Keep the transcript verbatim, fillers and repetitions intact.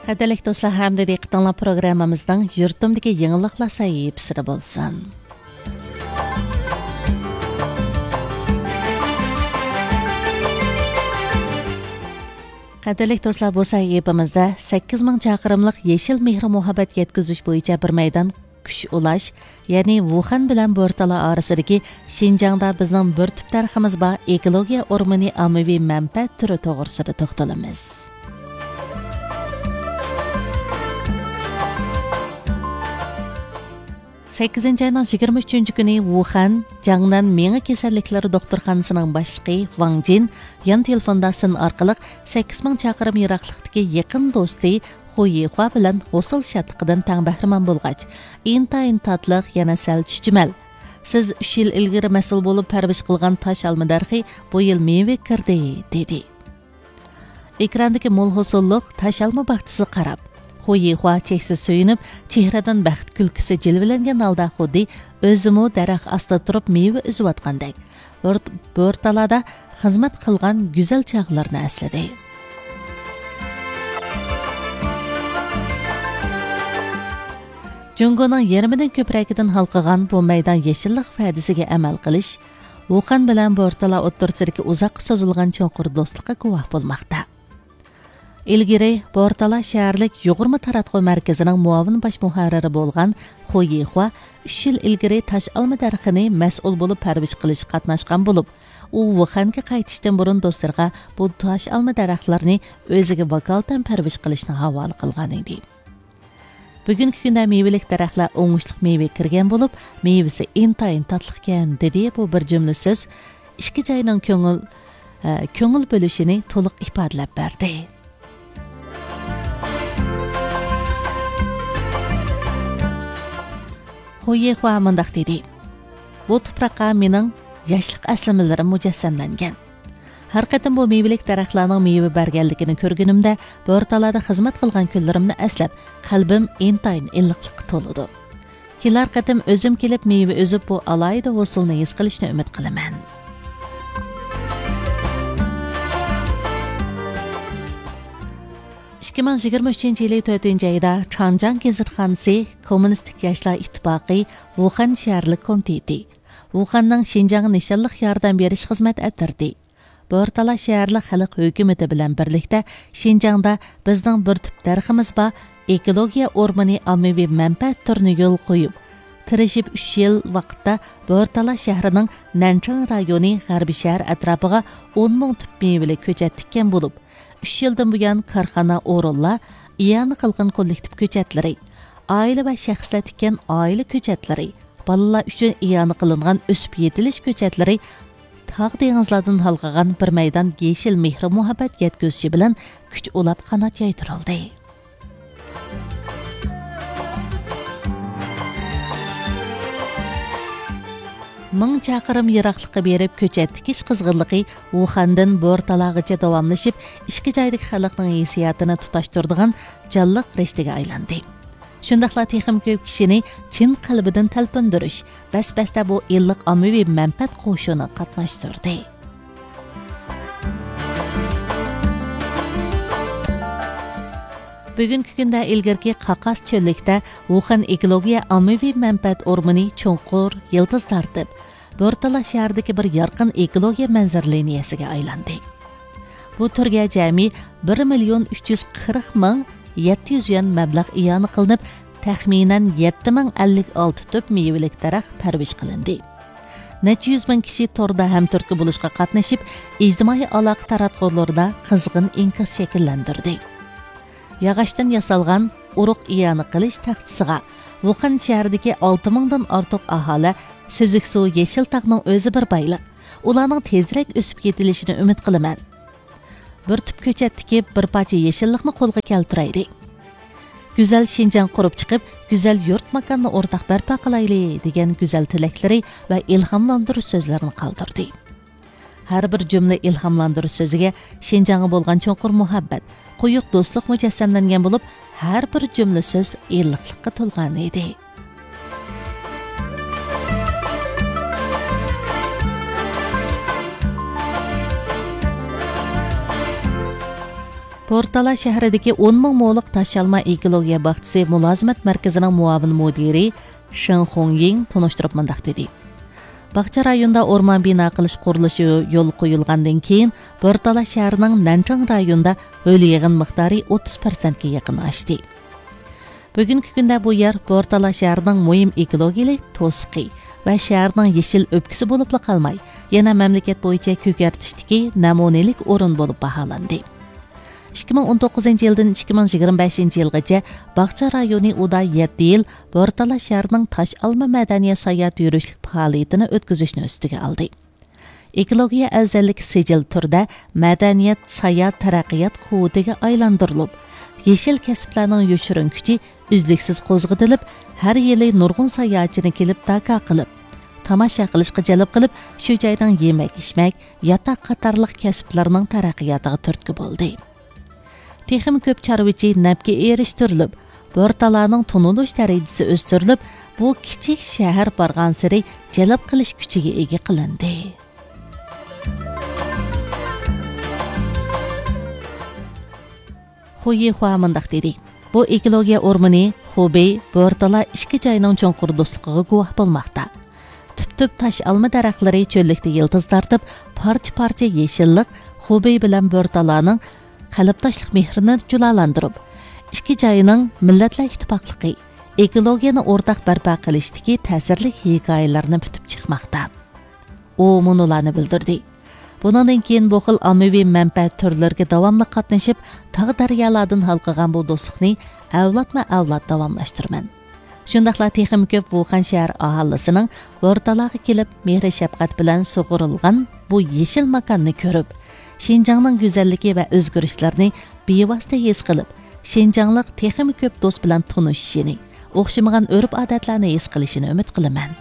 قەدىرلىك دوستلار، ھەمدە دىققىتىڭلار پروگراممىمىزنىڭ يۇرتۇمدىكى يېڭىلىقلار سەھىپىسىدە بولسۇن. قەدىرلىك دوستلار، بۇ سەھىپىمىزدە سەككىز مىڭ چاقىرىملىق يېشىل مېھرى مۇھەببەت يەتكۈزۈش بويىچە بىر مەيدان كۈچ ئۇلاش، يەنى ۋۇخەن بىلەن بورتالا ئارىسىدىكى شىنجاڭدا بىزنىڭ بىر تۈپ دەرىخىمىز بار ئېكولوگىيە ئورمىنى ئاممىۋى مەنپەئەت تۈرى توغرىسىدا توختىلىمىز. سەككىزىنچى ئاينىڭ يىگىرمە ئۈچىنچى كۈنى ۋۇخەن، جاڭنەن مېڭە كېسەللىكلىرى دوختۇرخانىسىنىڭ باشلىقى ۋاڭ جىن يان تېلېفوندا سىن ئارقىلىق سەككىز مىڭ چاقىرىم يىراقلىقتىكى يېقىن دوستى خۇ يىخۇا بىلەن ھوسۇل شادلىقىدىن تەڭ بەھرىمەن بولغاچ، ئىنتايىن تاتلىق، يەنە سەل چۈچۈمەل. سىز ئۈچ يىل ئىلگىرى مەسئۇل بولۇپ پەرۋىش قىلغان تاش ئالما دەرىخى بۇ يىل مېۋە كىردى، دېدى. ئېكراندىكى مول ھوسۇللۇق تاش ئالما باغچىسىغا قاراپ، خۇ يىخۇا چەكسىز سۆيۈنۈپ، چېھرىدىن بەخت كۈلكىسى جىلۋىلەنگەن ھالدا خۇددى ئۆزىمۇ دەرەخ ئاستىدا تۇرۇپ مېۋە ئۈزۈۋاتقاندەك، بىر، بىر تالادا خىزمەت قىلغان گۈزەل چاغلىرىنى ئەسلىدى. جۇڭگونىڭ يېرىمىدىن كۆپرەكىدىن ھالقىغان بۇ مەيدان يېشىللىق ۋەدىسىگە ئەمەل قىلىش، ۋۇخەن بىلەن بورتالا ئوتتۇرىسىدىكى ئۇزاققا سوزۇلغان چوڭقۇر دوستلۇققا گۇۋاھ بولماقتا. ئىلگىرى بورتالا شەھەرلىك يۇغۇرما تاراتقۇ مەركىزىنىڭ مۇئاۋىن باش مۇھەررىرى بولغان خۇ يىخۇا ئۈچ يىل ئىلگىرى تاش ئالما دەرىخىنى مەسئۇل بولۇپ پەرۋىش قىلىشقا قاتناشقان بولۇپ، ئۇ ۋۇخەنگە قايتىشتىن بۇرۇن دوستلىرىغا بۇ تاش ئالما دەرەخلىرىنى ئۆزىگە ۋاكالىتەن پەرۋىش قىلىشنى ھاۋالە قىلغانىدى. بۈگۈنكى كۈندە مېۋىلىك دەرەخلەر ئوڭۇشلۇق مېۋە كىرگەن بولۇپ، مېۋىسى ئىنتايىن تاتلىقكەن، دېدى. بۇ بىر جۈملە سۆز ئىككى جاينىڭ كۆڭۈل، ئە، كۆڭۈل بۆلۈشىنى تولۇق ئىپادىلەپ بەردى. خۇ يىخۇا مۇنداق دېدى: بۇ تۇپراققا مېنىڭ ياشلىق ئەسلىمىلىرىم مۇجەسسەملەنگەن. ھەر قېتىم بۇ مېۋىلىك دەرەخلەرنىڭ مېۋە بەرگەنلىكىنى كۆرگىنىمدە، بورتالادا خىزمەت قىلغان كۈنلىرىمنى ئەسلەپ، قەلبىم ئىنتايىن ئىللىقلىققا تولىدۇ. كېلەر قېتىم ئۆزۈم كېلىپ مېۋە ئۈزۈپ، بۇ ئالاھىدە ھوسۇلنى ھېس قىلىشنى ئۈمىد قىلىمەن. ئىككى مىڭ يىگىرمە ئۈچىنچى يىلى تۆتىنچى ئايدا چاڭجياڭ گېزىتخانىسى، كوممۇنىستىك ياشلار ئىتتىپاقى، ۋۇخەن شەھەرلىك كومىتېتى، ۋۇخەننىڭ شىنجاڭغا نىشانلىق ياردەم بېرىش خىزمەت ئەترىتى، بورتالا شەھەرلىك خەلق ھۆكۈمىتى بىلەن بىرلىكتە شىنجاڭدا بىزنىڭ بىر تۈپ دەرىخىمىز بار ئېكولوگىيە ئورمىنى ئاممىۋى مەنپەئەت تۈرىنى يولغا قويۇپ، تىرىشىپ ئۈچ يىل ۋاقىتتا بورتالا شەھىرىنىڭ نەنچاڭ رايونى غەربىي شەھەر ئەتراپىغا ئون مىڭ تۈپ مېۋىلىك كۆچەت تىككەن بولۇپ، ئۈچ يىلدىن بۇيان كارخانا، ئورۇنلار، ئىئانە قىلغان كوللېكتىپ كۆچەتلىرى، ئائىلە ۋە شەخسلەر تىككەن ئائىلە كۆچەتلىرى، بالىلار ئۈچۈن ئىئانە قىلىنغان ئۆسۈپ يېتىلىش كۆچەتلىرى، تاغ دېڭىزلاردىن ھالقىغان بىر مەيدان يېشىل مېھرى مۇھەببەت يەتكۈزۈشى بىلەن كۈچ ئۇلاپ قانات يايدۇرۇلدى. مىڭ چاقىرىم يىراقلىققا بېرىپ كۆچەت تىكىش قىزغىنلىقى ۋۇخەندىن بورتالاغىچە داۋاملىشىپ، ئىككى جايدىكى خەلقنىڭ ھېسسىياتىنى تۇتاشتۇرىدىغان جانلىق رىشتىگە ئايلاندى. شۇنداقلا تېخىمۇ كۆپ كىشىنى چىن قەلبىدىن تەلپۈندۈرۈش، بەس-بەستە بۇ ئىللىق ئاممىۋى مەنپەئەت قوشۇنىغا قاتناشتۇردى. بۈگۈنكى كۈندە ئىلگىرىكى قاقاس چۆللۈكتە ۋۇخەن ئېكولوگىيە ئاممىۋى مەنپەئەت ئورمىنى چوڭقۇر يىلتىز تارتىپ، بورتالا شەھىرىدىكى بىر يارقىن ئېكولوگىيە مەنزىرە لىنىيەسىگە ئايلاندى. بۇ تۈرگە جەمئىي بىر مىليون ئۈچ يۈز قىرىق مىڭ يەتتە يۈز يۈەن مەبلەغ ئىئانە قىلىنىپ، تەخمىنەن يەتتە مىڭ ئەللىك ئالتە تۈپ مېۋىلىك دەرەخ پەرۋىش قىلىندى. نەچچە يۈز مىڭ كىشى توردا ھەمتۈرتكە بولۇشقا قاتنىشىپ، ئىجتىمائىي ئالاقە تاراتقۇلىرىدا قىزغىن ئىنكاس شەكىللەندۈردى. ياغاچتىن ياسالغان ئۇرۇق ئىئانە قىلىش تەختىسىغا ۋۇخەن شەھىرىدىكى ئالتە مىڭدىن ئارتۇق ئاھالە سۈزۈك سۇ يېشىل تاغنىڭ ئۆزى بىر بايلىق. ئۇلارنىڭ تېزرەك ئۆسۈپ يېتىلىشىنى ئۈمىد قىلىمەن. بىر تۈپ كۆچەت تىكىپ، بىر پارچە يېشىللىقنى قولغا كەلتۈرەيلى. گۈزەل شىنجاڭ قۇرۇپ چىقىپ، گۈزەل يۇرت ماكاننى ئورتاق بەرپا قىلايلى، دېگەن گۈزەل تىلەكلىرى ۋە ئىلھاملاندۇرۇش سۆزلىرىنى قالدۇردى. ھەر بىر جۈملە ئىلھاملاندۇرۇش سۆزىگە شىنجاڭغا بولغان چوڭقۇر مۇھەببەت، قويۇق دوستلۇق مۇجەسسەملەنگەن بولۇپ، ھەر بىر جۈملە سۆز ئىللىقلىققا تولغان ئىدى. بورتالا شەھىرىدىكى ئون مىڭ مولۇق تاش ئالما ئېكولوگىيە باغچىسى مۇلازىمەت مەركىزىنىڭ مۇئاۋىن مۇدىرى شېڭ خۇڭيىڭ تونۇشتۇرۇپ مۇنداق دېدى: باغچە رايونىدا ئورمان بىنا قىلىش قۇرۇلۇشى يولغا قويۇلغاندىن كېيىن، بورتالا شەھىرىنىڭ نەنچىڭ رايونىدا ھۆل يىغىن مىقدارى ئوتتۇز پىرسەنتكە يېقىن ئاشتى. بۈگۈنكى كۈندە بۇ يەر بورتالا شەھىرىنىڭ مۇھىم ئېكولوگىيەلىك توسۇقى ۋە شەھەرنىڭ يېشىل ئۆپكىسى بولۇپلا قالماي، يەنە مەملىكەت بويىچە كۆكەرتىشتىكى نەمۇنىلىك ئورۇن بولۇپ باھالاندى. ئىككى مىڭ ئون توققۇزىنچى يىلدىن ئىككى مىڭ يىگىرمە بەشىنچى يىلغىچە باغچە رايونى ئۇدا يەتتە يىل بورتالا شەھىرىنىڭ تاش ئالما مەدەنىيەت ساياھەت يۈرۈشلۈك پائالىيىتىنى ئۆتكۈزۈشنى ئۈستىگە ئالدى. ئېكولوگىيە ئەۋزەللىك سىجىل تۈردە مەدەنىيەت ساياھەت تەرەققىيات قۇۋۋىتىگە ئايلاندۇرۇلۇپ، يېشىل كەسىپلەرنىڭ يوشۇرۇن كۈچى ئۈزلۈكسىز قوزغىتىلىپ، ھەر يىلى نۇرغۇن ساياھەتچىنى كېلىپ داكا قىلىپ، تاماشا قىلىشقا جەلپ قىلىپ، شۇ جاينىڭ يېمەك-ئىچمەك، ياتاق قاتارلىق كەسىپلەرنىڭ تەرەققىياتىغا تۈرتكە بولدى. تېخىمۇ كۆپ چارۋىچى نەپكە ئېرىشتۈرۈلۈپ، بورتالانىڭ تونۇلۇش دەرىجىسى ئۆستۈرۈلۈپ، بۇ كىچىك شەھەر بارغانسېرى جەلپ قىلىش كۈچىگە ئىگە قىلىندى. خۇ يىخۇا مۇنداق دېدى: بۇ ئېكولوگىيە ئورمىنى خۇبېي، بورتالا ئىككى جاينىڭ چوڭقۇر دوستلۇقىغا گۇۋاھ بولماقتا. تۈپتۈپ تاش ئالما دەرەخلىرى چۆللۈكتە يىلتىز تارتىپ، پارچە-پارچە يېشىللىق خۇبېي بىلەن بورتالانىڭ قەلبداشلىق مېھرىنى جۇلالاندۇرۇپ، ئىككى جاينىڭ مىللەتلەر ئىتتىپاقلىقى، ئېكولوگىيەنى ئورتاق بەرپا قىلىشتىكى تەسىرلىك ھېكايىلىرىنى پۈتۈپ چىقماقتا. ئۇ مۇنۇلارنى بىلدۈردى: بۇنىڭدىن كېيىن بۇ خىل ئاممىۋى مەنپەئەت تۈرلىرىگە داۋاملىق قاتنىشىپ، تاغ-دەريالاردىن ھالقىغان بۇ دوستلۇقنى ئەۋلادمۇ-ئەۋلاد داۋاملاشتۇرىمەن. شۇنداقلا تېخىمۇ كۆپ ۋۇخەن شەھەر ئاھالىسىنىڭ بورتالاغا كېلىپ، مېھرى-شەپقەت بىلەن سۇغۇرۇلغان بۇ يېشىل ماكاننى كۆرۈپ، شىنجاڭنىڭ گۈزەللىكى ۋە ئۆزگىرىشلىرىنى بىۋاسىتە ھېس قىلىپ، شىنجاڭلىق تېخىمۇ كۆپ دوست بىلەن تونۇشۇشىنى، ئوخشىمىغان ئۆرپ-ئادەتلەرنى ھېس قىلىشىنى ئۈمىد قىلىمەن.